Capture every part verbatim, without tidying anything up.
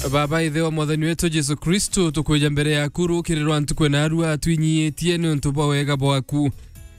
Baba Ithe wa Mwathani wetu Jesu Kristu, tukwija mbere yaku rukiri rwa ntuku na arua twinyiitie niuntu bwa wega bwaku.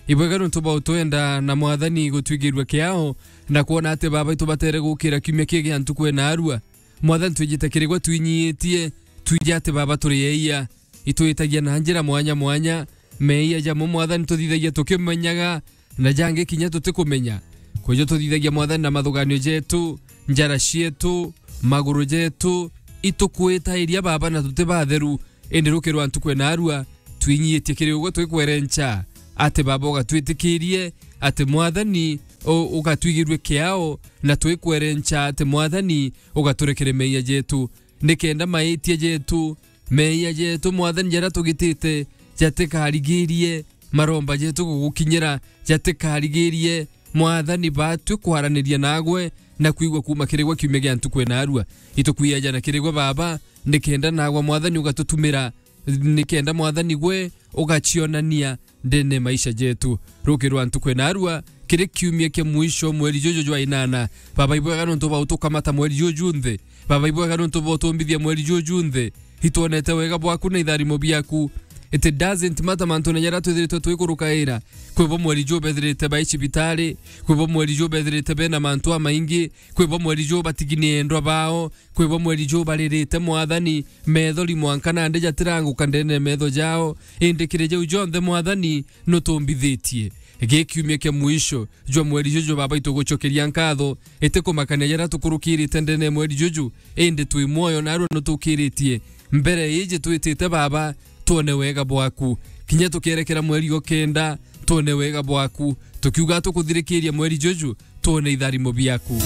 Ibwega niuntu bwa utwenda na Mwathani gutwigirua kiao na kwona ati Baba itubatere gukira kiumia kii gia ntuku na arua. Mwathani, twijite kiri gwe twinyiitie, twiji ati Baba turi eia. Itwitagia na njira mwanya mwanya, meia jamo Mwathani tuthithagia tukimenyaga, na jangi kinya tutikumenya. Kwijo tuthithagia Mwathani na mathuganio jetu, njara cietu, maguru jetu, itukwitairia Baba na tuti batheru, indi rukiri rwa ntuku na arua, twinyiitie kiri ugwe twikwerenca ati Baba ugatwitikirie, ati Mwathani u-, ugatwigirue kiao, na twikwerenca ati Mwathani ugaturekere meia jetu, nikenda maitia jetu, meia jetu, Mwathani, jaria tugitite jatikarigirie maromba jetu gugukinyira, jatikarigirie, Mwathani, batwi kwaraniria nagwe na kwigua kuuma kiri gwe kiumia gia ntuku na arua. Itukwiaja na kiri gwe, Baba, nikenda nagwe, Mwathani, ugatutumira, nikenda, Mwathani, gwe ugacionania ndene maisha jetu. Rukiri rwa ntuku na arua, kiri kiumia kia mwisho mweri juju jwa inana. Baba, ibwega niuntu bwa utukamata mweri juju nthi. Baba, ibwega niuntu bwa utumbithia mweri juju nthi. Itwonete wega bwaku na itharimo biaku. It doesn't matter mantu na jaria twithiritwe twikurukaira. Kwi bo mweri juu bethirite bai cibitari, kwi bo mweri juu bethirite bena mantu amaingi, kwi bo mweri juu batigini endwa bao, kwi bo mweri juu baririte, Mwathani, methori mwanka nandi jatiranguka ndene metho jao, indi kiri jau jonthe, Mwathani, nutumbithitie. Gi kiumia kia mwisho jwa mweri juju, Baba, itugucokeria nkatho, itikumakania jaria tukurukirite ndene mweri juju, indi twi mwoyo narua nutukiritie. Mbere iji twitite, Baba, twone wega bwaku. Kinya tukierekera mweri o kenda, twone wega bwaku. Tukiuga tukuthirikiria mweri juju, twone itharimo biaku.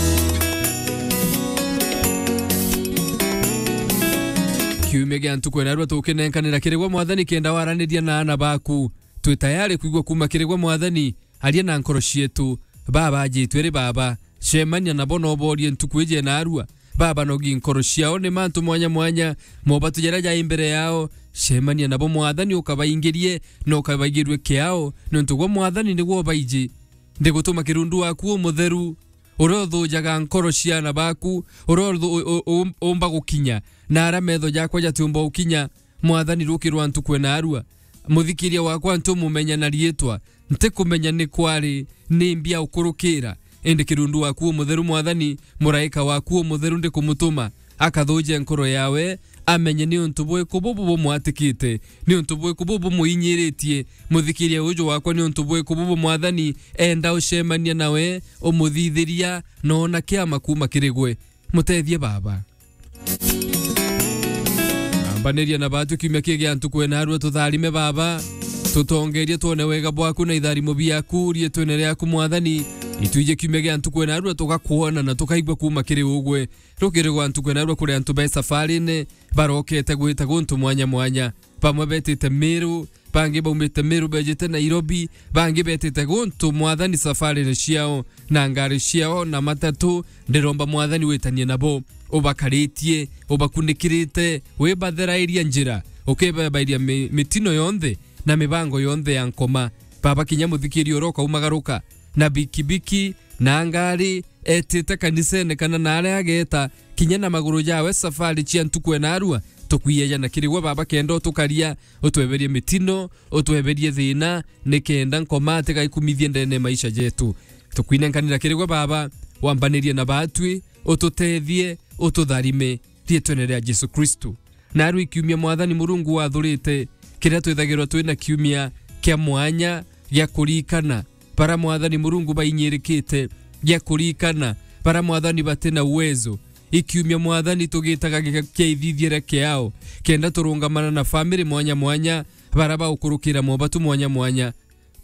Kiumia gia ntuku na arua tukinenkanira kiri gwe, Mwathani, kenda waraniria na aana baku. Twi tayari kwigua kuuma kiri gwe, Mwathani, aria na nkoro cietu. Baba ajitwe ri, Baba, cemania nabo na uborie ntuku iji na arua. Baba, nogi nkoro ciao ni mantu mwanya mwanya, mobatu jaria jai mbere yao. Cemania nabo, Mwathani, ukabaingirie na ukabaigirue kiao, niuntu gwe, Mwathani, nigwe ubaiji. Ndigutuma kirundu waku umutheru, uria uthujaga nkoro cia aana baku, uria uthu-, u-, u-, u-, umba gukinya na aria metho jakwa jatiumba gukinya. Mwathani, rukiri rwa ntuku na arua, muthikiria wakwa ntumumenya na riitwa, ntikumenya ni kwari ni mbi aukurukira, indi kirundu waku umutheru, Mwathani, muraika waku umutheru ndikumutuma, akathuje nkoro yawe, amenye ni untu bwiku bubu bumwatikite, ni untu bwiku bubu bumuinyiritie. Muthikiria uju wakwa, ni untu bwiku bubu, Mwathani, enda ucemania nawe, umuthithiria, na ona kiama kuuma kiri gwe. Mutethie, Baba. Ambaniria na batu kiumia kii gia ntuku na arua, tutharime, Baba. Tutongerie twone wega bwaku na itharimo biaku, riitwene riaku, Mwathani. Itwije kiumia gia ntuku na arua, tugakwona na tukaigua kuuma kiri ugwe. Rukiri rwa ntuku na arua kuri antu be safarine, barokete gwita guntu mwanya mwanya. Bamwe betite Meru, bangi baumite Meru bejite Nairobi, bangi betite guntu, Mwathani, safarine ciao, na ngari ciao, na matatu. Ndiromba, Mwathani, witanie nabo, ubakaritie, ubakunikirite, wibatherairia njira, ukibabairia mi-, mitino yonthe na mibango yonthe ya nkoma. Baba, kinya muthikiria uria ukaumagaruka na bikibiki na ngari, etite kanisene kana na aria ageeta, kinya na maguru jawe safari cia ntuku na arua, tukwiejana kiri gwe, Baba, kenda utukaria, utweberie mitino, utweberie thina, nikenda nkoma atigaikumithie ndene maisha jetu. Tukwinenkanira kiri gwe, Baba, wambanirie na batwi, ututethie, ututharime, riitwene ria Jesu Kristu. Naarua ikiumia, Mwathani Murungu, wathurite kiria twithagirwa twina kiumia kia mwanya gia kurikana bara, Mwathani Murungu, bainyirikite, gia kurikana bara, Mwathani, batina uwezo. Ikiumia, Mwathani, tugitaga gia-, kia ithithiere kiao, kenda turungamana na family mwanya mwanya, bara baukurukira mobatu mwanya mwanya,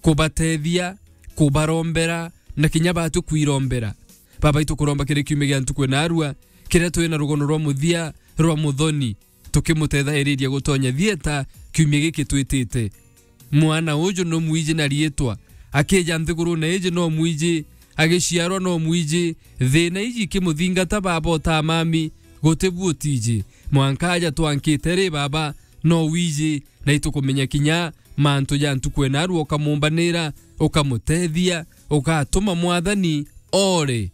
kubatethia, kubarombera, na kinya batu kwirombera. Baba, itukuromba kiri kiumia gia ntuku na arua, kiria twina rugono rwa muthia rwa muthoni, tukimutethairiria gutonya thieta kiumia giki twitite. Mwana uju no mwiji na riitwa, akija nthigurune iji no mwiji, agiciarwa no mwiji, thina iji ikimuthingata, Baba, utamami, guti bu utiji. Mwanka aja twankite ri, Baba, no wiji, na itukumenya kinya mantu ja ntuku na arua, ukamumbanira, ukamutethia, ugatuma, Mwathani, ore.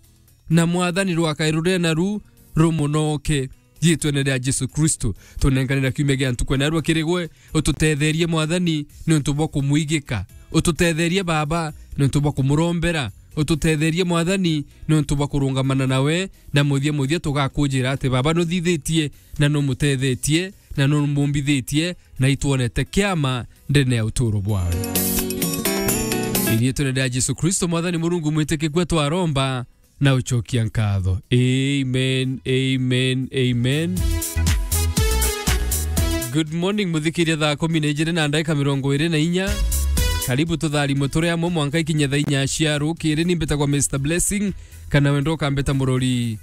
Na Mwathani, rwakae ruria naru rumunoke. Riitwene ria Jesu Kristo, tunenkanira kiumia gia ntuku ya narua kiri gwe. Ututetherie, Mwathani, niuntu bwa kumwigika. Ututetherie, Baba, niuntu bwa kumurombera. Ututetherie, Mwathani, niuntu bwa kurungamana nawe, na muthia muthia tugakujira ati Baba nuthithitie, na numutethetie, na numumbithitie, na itwonete kiama ndene ya uturo bwawe. Iriitwene ria Jesu Kristo, Mwathani Murungu mwitikikua, twaromba na ucokia nkatho. Amen, amen, amen. Good morning, muthikiria, thaa kumi na ijiri na ndagika mirongo iri na inya. Karibu tutharimwe turi amwe mwanka ikinye thaa inya cia rukiri. Ni mbitagwa Mister Blessing, kana wenda ukambita murori